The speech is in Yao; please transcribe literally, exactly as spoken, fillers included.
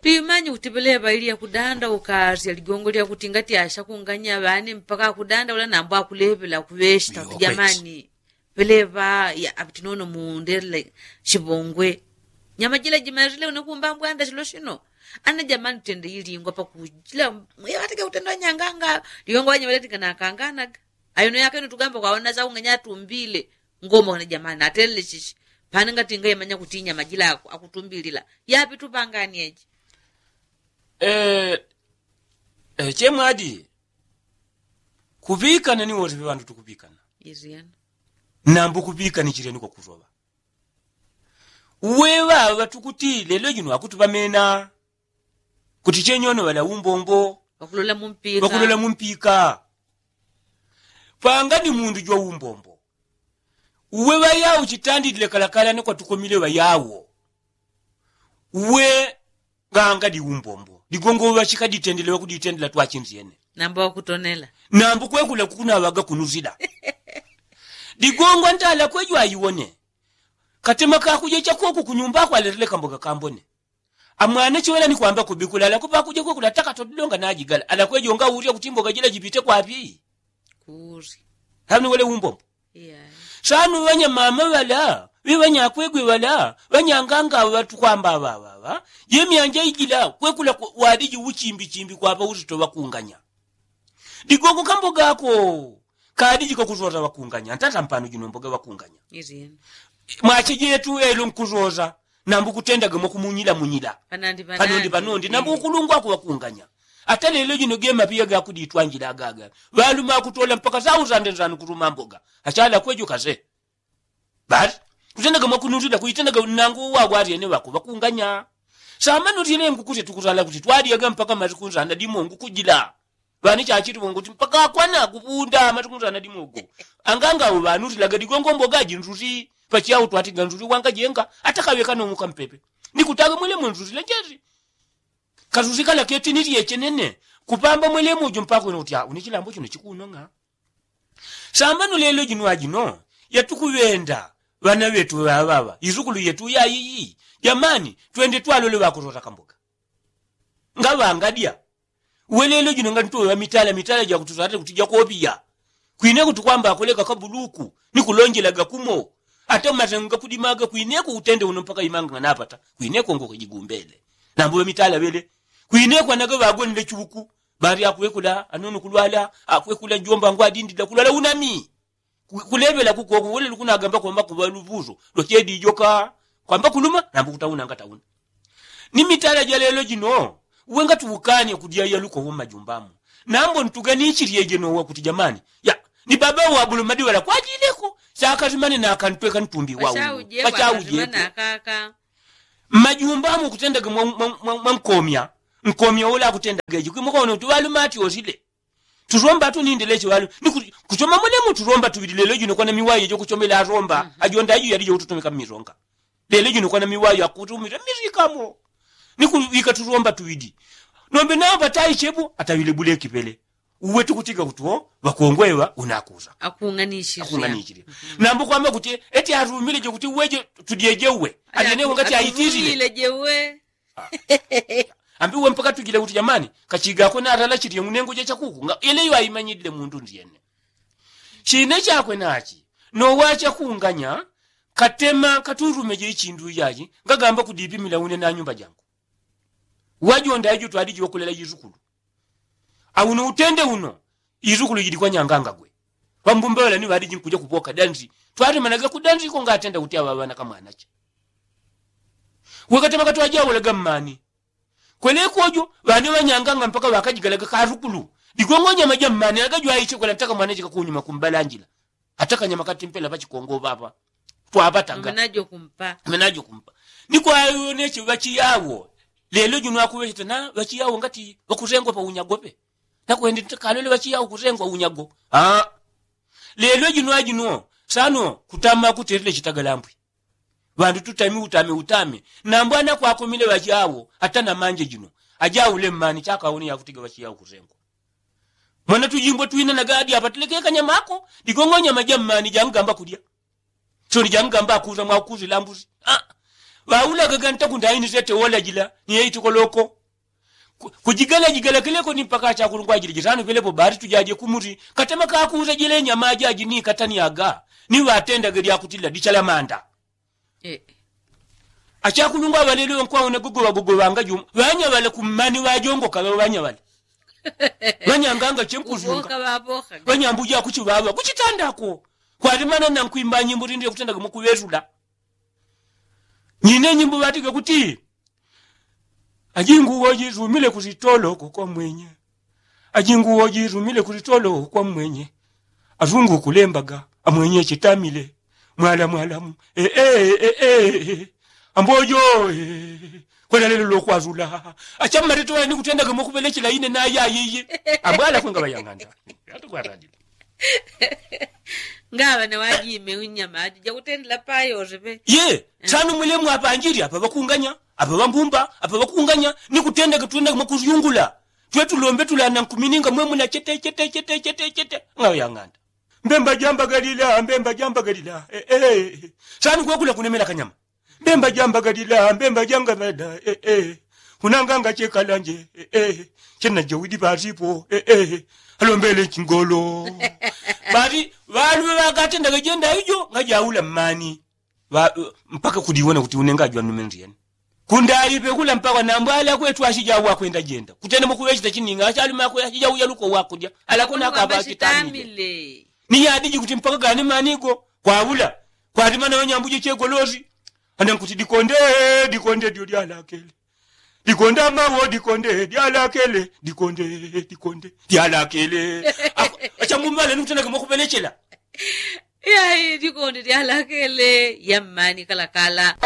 Pimanyi kuti pelepa ili yakudanda ukasya ligongo lyakuti ngati ashakunganya ŵani mpaka akudandaula nambo akulepela kuŵeshita kuti jamani, pelepa ya apiti nono mundele shipongwe. Nyama jila jimarile unekumba mbwanda shilo shino. Ana jamani tende ilingwa pakujila. Mwiyawatike utenda wanyanganga ligongo wanyamaletika nakanganaga. Ayono yakeno tugamba kwaona saunganya atumbile. Ngomba wana jamani atelele shishi. Pane ngati ngaimanya kuti inyama jila akutumbilila yapi tupangani eji. Eh, eh, chemwadi. Kuŵikana ni wose ŵandu tukuŵikana. Izyana. Nambo kuŵikani chileni kwakusoŵa. Uwe ŵaŵa tukuti lelo jino akuti ŵamena. Kuti chenyono ŵala umbombo. Ŵakulola mumpika ŵakulola mumpika. Panga ni mundu jwa umbombo. Uwe ŵayau chitandile kalakala ni kwatukomile ŵayau. Uwe nganga di umbombo digongo ŵachikaditendele ŵakuditendela twachinzyene. Nambo ŵakutonela. Nambo kwekula kukunaŵaga kunuzila. Digongo ntala kwejo ayiwone. Katema kakuja chakoku kunyumba akwaletele kamboga kambone. Amwana chiwela ni kwamba kubikula ala kupa kuja kwekula takatodilonga najigala ala kwejo ngaurya kuti mboga jila jipite kwapi? Kuri. Hamni wele umbombo. Sanu ŵanyamama ŵala ŵe ŵanyakwegwe ŵala ŵanyanganga ŵatukwamba ŵaŵaŵa. Jemyanja ijila kwekula wadiji uchimbichimbi kwapa uzito ŵakunganya. Digongo kamboga ako kadiji kakusosa ŵakunganya ntata mpano jino mboga ŵakunganya. Mwache jetu elo nkusosa. Nambu kutendaga mwakumunyila munyila panondi panondi nambu ukulungwa kuŵakunganya. Ata lelo jino gemapiya gakuditwanjila agaga ŵaluma akutola mpaka sausande nsanu kuluma mboga. Achala kwejo kase. Basi kutendaga mwakunuzila kuitendaga nangu uwagwaryene ŵakuŵakunganya. Samanu tyele nkukusye tukusala kuti twadyaga mpaka masiku nsana dimongu kujila. Ŵani chachiti ŵongo ti mpaka akwana kupunda amatuku nsana dimogo. Anganga awo ŵanu tilaga digongo mboga jinzuti pachiyawo twatiga nzuti wangajenga. Atakaŵeka nomo kampepe nikutaga mwelemo nzuti lenjeti. Kasuti kala keti nilye chenene. Kupamba mwelemo ujo mpaka wena kuti awo ni chilambo chino chikunong'a. Sambano lelo jino ajino yatukuŵenda ŵana ŵetu ŵaŵaŵa izukulu yetu yayiyi. Jamani twende twalole ŵakusota kamboga. Ngaŵangadya. Uwe lelo jino nganitowe ŵamitala mitala jakutusata kuti jakopiya. Kwine kuti kwamba akoleka kabuluku nikulonjelaga kumo. Ata masengo gakudimaga kwineko utende uno mpaka imanga nganapata kwineko ngokejigumbele. Nambo ŵamitala ŵele kwineko anaga ŵagonile chuku. Bari akwekula anono kulwala akwekula jomba ngwadindida kulwala unami. Kuleŵela kukoku wele lukunagamba kwamba kuŵa luvuso lwachedijoka. Kwamba kuluma nambo kutauna ngatauna. Ni mitala ja lelo jino uwe ngatuukanye kudya yaluko wo mmajumbamu. Nambo ntuganichilyeje nowa kuti jamani ya ni baba wabulumadi ŵala kwajileko. Sakasimane nakantweka ntumbi waupachaujete. Mmajumbamu kutendaga mwankomya nkomya ula akutendaga eji kwimukona kuti ŵalumati osile. Tusomba tunindile chiŵalu ni kuchoma mulemu tusomba tuŵili lelo jino kwana miwayo jokuchomela asomba ajonda aju yali jokututumika mmisonga. Lelo jino kwana miwayo akutumila mmisikamo ni kuŵika tusomba tuŵili. Nombe nawo patayi chepo ataŵile buleki pele. Uwe tukutiga kuti wo ŵakongweŵa unakusa akung'anichile. Nambo kwamba kuti eti arumile jokuti uweje tudyeje uwe ajenewe ngati aitilile. Ambi uwe mpaka tujile kuti jamani kachigako natala chilye ng'unengo ja chakuku nga yeleyo aimanyilile mundu ndyene. Chine chakwe nachi nowa chakunganya. Katema katurumeje ichindu ijaji ngagamba kudipimila une na nyumba jangu. Wajonda aju twaliji wakulela yizukulu. Auno utende uno izukulu jili kwanyangangagwe. Ŵambumba ŵalani ŵaliji nkuja kupoka danzi twatemanaga kudanzi iko ngatenda kuti aŵaŵana kamwanache. Wekatemaka twajaulaga mmani kweleko uju ŵane ŵanyanganga mpaka ŵakajigalaga kasukulu. Digongo nyama ja mmani agajwaiche kwela ntaka mwanache kakunyuma kumbalanjila. Ata kanyama katimpela pachikongo ŵapa twapataga. Menajo kumpa. Nikwayoneche ŵachiyawo. Lelo jino akuŵecheta na ŵachiyawo ngati ŵakusengwa paunyagope. Nakwende ntakalole ŵachiyawo kusengwa unyago. Lelo jino ajino sano kutama kutelile chitagalambwi. Ŵandu tutami utame utame. Nambo anakwakomile ŵajawo ata namanje jino ajaule mmani chakaone yakutiga ŵachiyawo kusengwa. Mwana tujimbo twina nagadi apatile kekanyamako. Digongo nyama ja mmani jangamba kudya. Soni jangamba akusa mwakusi lambusi. Ŵaulaga ganta kundaini sete wola jila ni yeitikoloko. Kujigalajigala kileko ni mpaka achakulungwa ajili jitano pelepo bari tujaje kumuti katema kakuuta jile nyama ajaji ni katani aga ni ŵatendage lyakutila dichalamanda. Achakulungwa ŵaleleŵa nkwauna gogoŵagogoŵanga jumu ŵanyaŵale kummani ŵajongoka ŵaŵanyaŵale ŵanyanganga chenkuzyunga ŵanyambuja kuchiŵaŵa kuchitandako. Kwalimana nankwimba nyimbo lindi lyakutendaga mwakuŵetula nyine nyimbo ŵatige kuti ajinguwo jizumile kulitoloko kwa mwenye ajinguwo jizumile kulitoloko kwa mwenye. Azungu kulembaga amwenye chitamile mwala mwalamu ee ee ee ambojo ee. Kwela lelo lokwazula achammalete wane nikutendage mwakuŵelechela ine nayayiyi ambwala kunga ŵayang'anda. Atukwatandile ngaŵa na wajime unyama ati jakutendela payosepe. Ye sanu mwilemu apanjili apa ŵakunganya apa ŵambumba apa ŵakunganya nikutendeke twendeke mwakusyungula. Twetulombe tulana nkumininga mwemuna chete chete chete chete chete ngaŵa yang'anda. Mbemba jambagalila mbemba jambagalila. Sanu kwekula kunemela kanyama mbemba jambagalila mbemba jangaŵada. Kunanganga chekalanje chena jawidi pasipo alombele chingolo. Basi ŵaluŵe ŵakatendaga jenda ijo ngajaula mmani mpaka kudiwona kuti unenga jwanumeni lyene. Kundalipe kula mpaka nambwala kwetu ashija wakwenda jenda kutenda mukuŵechita chininga ashalume akwe ashija uyaluko wakulya alakona akaba chitamile. Ni yadiji kuti mpaka gani manigo kwaula kwalimana wanyambuje chegolosi. Ana nkuti dikonde dikonde dyo dyalakele dikonde amawo dikonde dyalakele dikonde dikonde dyalakele. Achamumale nikutenake mwakuŵelechela. Yai dikonde dyalakele yammani kalakala.